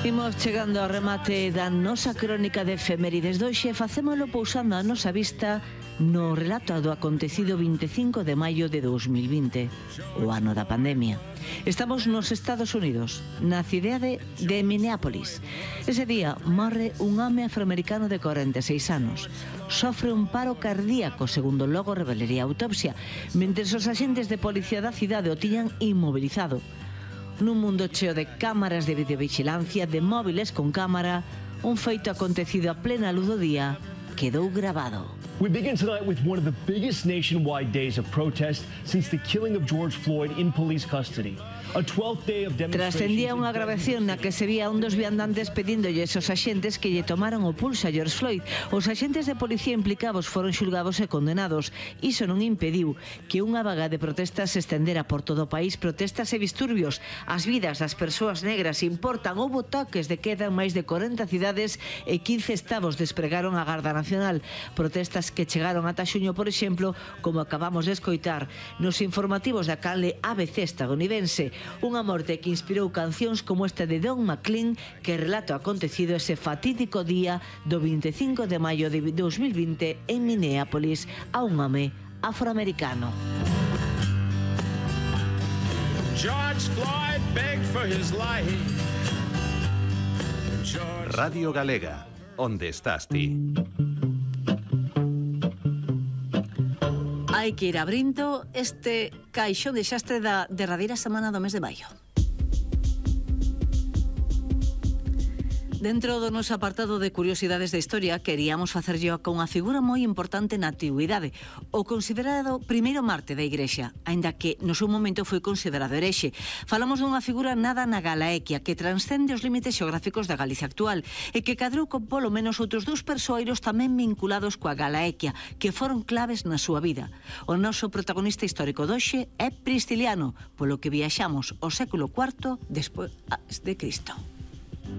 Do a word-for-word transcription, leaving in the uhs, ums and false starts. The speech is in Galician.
Imos chegando ao remate da nosa crónica de efemérides de hoxe. Facémolo pousando a nosa vista no relato do acontecido vinte e cinco de maio de dous mil vinte, o ano da pandemia. Estamos nos Estados Unidos, na cidade de Minneapolis. Ese día morre un home afroamericano de corenta e seis anos. Sofre un paro cardíaco, segundo logo revelaría a autopsia, mentres os axentes de policía da cidade o tiñan inmobilizado. Nun mundo cheo de cámaras de videovigilancia, de móviles con cámara, un feito acontecido a plena luz do día quedou grabado. We begin tonight with one of the biggest nationwide days of protest since the killing of George Floyd in police custody. A twelfth day of demonstrations. Trascendía unha grabación na que se vía un dos viandantes pedíndolles aos axentes que lle tomaran o pulso a George Floyd. Os axentes de policía implicados foron xulgados e condenados. Iso non impediu que unha vaga de protestas se estendera por todo o país. Protestas e disturbios. As vidas das persoas negras importan. Houbo toques de queda en máis de corenta cidades e quince estados despregaron a Garda Nacional. Protestas que chegaron ata xuño, por exemplo, como acabamos de escoitar nos informativos da canle A B C estadounidense. Unha morte que inspirou cancións como esta de Don McLean, que relata o acontecido ese fatídico día do vinte e cinco de maio de dous mil vinte en Minneapolis a un home afroamericano. George Floyd begged for his life. Radio Galega, onde estás ti? Hai que ir abrindo este caixón de xastre da derradeira semana do mes de maio. Dentro do noso apartado de curiosidades da historia, queríamos facerlle con unha figura moi importante na antigüidade, o considerado primeiro mártir da Igrexa, aínda que no seu momento foi considerado herexe. Falamos dunha figura nada na Galaequia, que transcende os límites xeográficos da Galicia actual, e que cadrou con polo menos outros dous persoeiros tamén vinculados coa Galaequia, que foron claves na súa vida. O noso protagonista histórico doxe é Prisciliano, polo que viaxamos ao século cuarto despois de Cristo.